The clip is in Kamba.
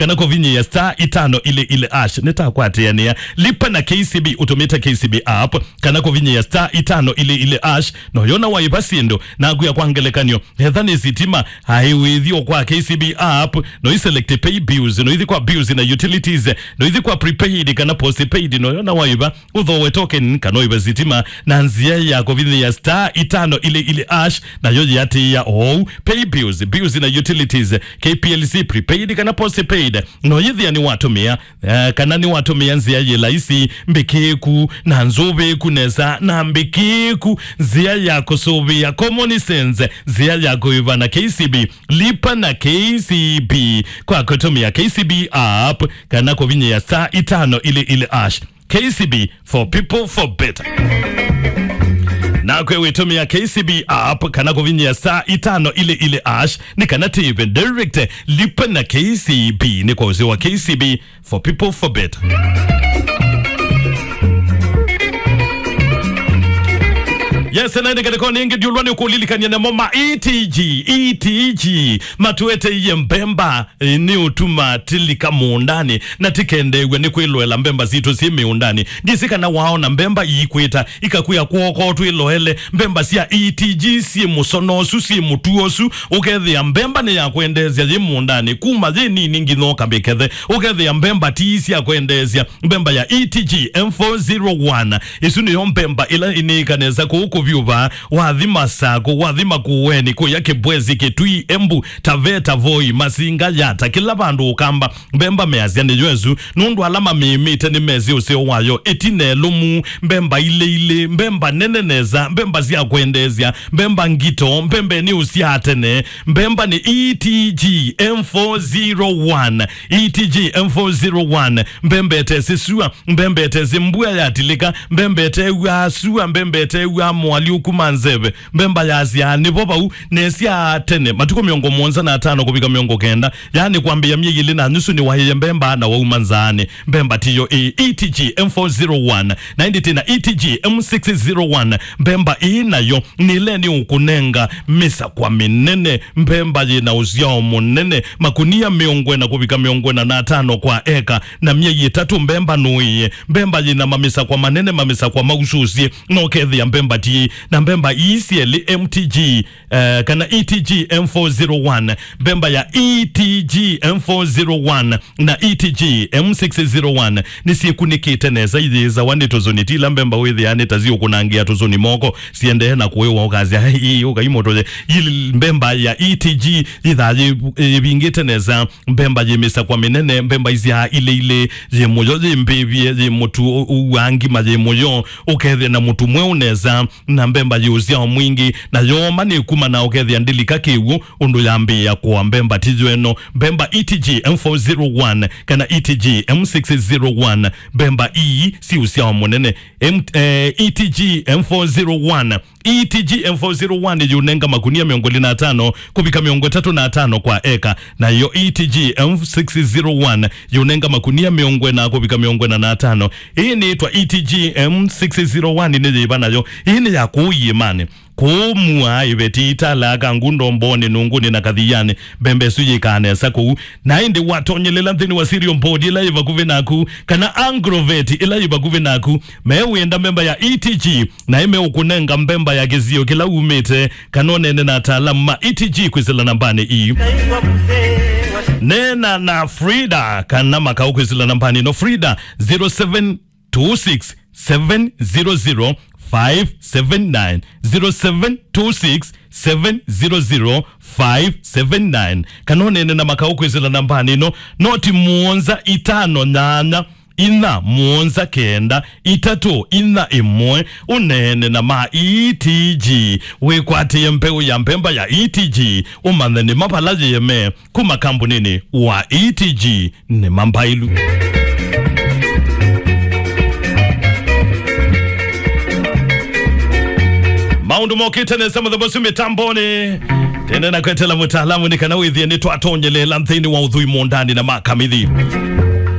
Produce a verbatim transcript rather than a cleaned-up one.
kana kũvinyĩa star itano ili ili hash. Nĩtakwatĩanĩa. Lipa na K C B ũtũmĩte K C B app, kana kũvinyĩa star itano ili ili hash. No yona waĩva syĩndũ, naku ya kwa ngelekany'o, etha nĩ sitima, aĩ wĩthi o kwa K C B app, no i select pay bills, no ithi kwa bills na utilities, no ithi kwa prepaid kana postpaid, no yona waĩva, ũthooe token kana ũĩve sitima na nzĩa ya kũvinyĩa star itano ili ili hash, nayo yĩatĩĩa oou. Pay bills, bills na utilities, K P L C, prepaid kana postpaid, no yĩthĩa nĩwatũmĩa, eh, kana nĩwatũmĩa nzĩa yĩ laisi, mbĩkĩĩku, na nzũvĩĩku nesa, na mbĩkĩĩku, nzĩa ya kũsũvĩa, common sense, nzĩa ya kũĩva na K C B. Lipa na K C B kwa kũtũmĩa K C B app kana kũvinyĩa star itano ili ili hash. K C B, for people, for better. Nakwe wĩtũmĩa K C B app kana kũvinyĩa star itano ili ili hash, nĩ kana tĩve direct. Lipa na K C B nĩ kwa ũsĩ wa K C B, for people, for better. Yes, na ĩndĩ ngelekany'o ĩngĩ ndiũlwa nĩ kũlilikany'a namo ma E T G, E T G, matũeteie mbemba, eh, nĩ ũtuma tilika mũũndanĩ, na tikendeew'a nĩ kwĩloela mbemba sitũ syĩ mĩũndanĩ. Ndĩsĩ kana waona mbemba iikwĩta, ikakwĩa kw'oko twĩloele, mbemba sya E T G syĩ mũsono ũsu, syĩ mũtuo ũsu, ũkethĩa mbemba nĩ ya kwendeesya yĩ mũũndanĩ, kuma yĩ nini nginya ũkamĩkethe, ũkethĩa mbemba ti sya kwendeesya. Mbemba ya E T G M four zero one, ĩsu nĩyo mbemba ĩla ĩnĩĩka nesa kũu kũvyũva, wathi Masakũ, wathi Makueni, kũya Kĩbwezi, Kĩtui, Embu, Taveta, Voi, Masinga, Yata, kĩla vandũ ũkamba. Mbemba measya nĩyo ĩsu, nũndũ ala mamĩĩmĩte nĩmesĩ ũseo wayo, ĩtina ĩlũmu, mbemba ilĩ ilĩ, mbemba nene nesa, mbemba sya kwendeesya, mbemba ngito, mbemba nĩ ũsyaa tene. Mbemba nĩ E T G M four zero one, E T G M four zero one, mbemba ĩtesĩ sua, mbemba ĩtesĩ mbua yatilĩka, mbemba ĩtew'aa sua, mbemba ĩtew'aa moalyũku ma nzeve, mbemba yasyaa nĩvo vau, nesyaa tene, matukũ mĩongo mũonza na atano kũvika mĩongo kenda, yaani kwambĩĩa myei ĩlĩ na nusu nĩwaĩe mbemba na wauma nzaanĩ. Mbemba tiyo ĩ. E T G M four zero one, na ĩndĩ tĩna E T G M six zero one, mbemba ĩĩ nayo nĩ ĩla nĩ ũkũnenga mĩsakwa mĩnene, mbemba yĩna ũsyao mũnene, makunia mĩongo ĩna kũvika mĩongo ĩna na atano kwa eka, na myei ĩtatũ mbemba nũĩe. Mbemba yĩna mamĩsakwa manene, mamĩsakwa mausũsye, no kethĩa mbemba ti. Na mbemba ii syelĩ M T G, eh, kana E T G M four zero one, mbemba ya E T G M four zero one na E T G M six zero one nĩsyĩkunĩkĩte nesa, iyĩĩsawa nĩ tũsũni, ti ila mbemba wĩthĩaa nĩ ta siũkũnangĩa tũsũni moko, siendee na kũĩwa, ũkasya, "Ii, ũkai mũtũye." Ii mbemba ya E T G yĩthaa yĩ-, yĩvingĩte nesa, mbemba yĩ mĩsakwa mĩnene, mbemba isyaa ilĩ ilĩ, yĩ mũyo, yĩ mbĩvye, yĩ mũtu ũ-, ũwaa ngima, yĩ mũyo, ũkethĩa na mũtu mweũ nesa, na mbemba yĩ ũsyao mwingĩ, na yooma nĩ kuma na ũkethĩa ndĩlika kĩw'ũ, ũndũ yambĩĩa kũa. Mbemba ti yo ĩno. Mbemba E T G M four zero one kana E T G M six zero one, mbemba ii syĩ ũsyao mũnene. M-, eh, E T G M four zero one, E T G M four zero one yũnenga makunia mĩongo ĩlĩ na atano kũvika mĩongo ĩtatũ na atano kwa eka, nayo E T G M six zero one yũnenga makunia mĩongo ĩna kũvika mĩongo ĩna na atano. Ĩĩ nĩĩtwa E T G M six zero one nĩ yĩva nayo? Ĩĩ nĩ ya kũu iĩmanĩ. Kũu mua ĩveti italaa kangu ndombonĩ, nũngũnĩ na kathianĩ, mbemba ĩsu yĩkaa nesa kũu. Na ĩndĩ watonyelela nthĩnĩ wa cereal board ĩla yĩ vakuvĩ naku, kana agrovet ĩla yĩ vakuvĩ naku, mewĩenda mbemba ya E T G, na ĩmeũkũnenga mbemba ya kĩsio kĩla umĩte, kana ũneene na ataalamu ma E T G kwĩsĩla nambanĩ ii. Neena na Frida kana Makau kwĩsĩla nambanĩ ĩno. Frida, zero seven two six seven zero zero five seven nine, zero seven two six seven zero zero five seven nine. Kana ũneene na Makau kwĩsĩla nambanĩ ĩno, noti mũonza itano nyanya inya mũonza kenda itatũ inya ĩmwe. Ũneene na ma E T G, wĩkwatĩe mbeũ ya mbemba ya E T G, ũmanye nĩ ma vala yĩeme kuma kambunĩnĩ wa E T G nĩ ma mbailu. Maũndũ mokĩte nesa mũthenya ũsu mĩtambonĩ. Tene na kwetela mũtaalamu nĩ kana wĩthĩe nĩ twatonyelela nthĩnĩ wa ũthũi mũũndanĩ na makamithi.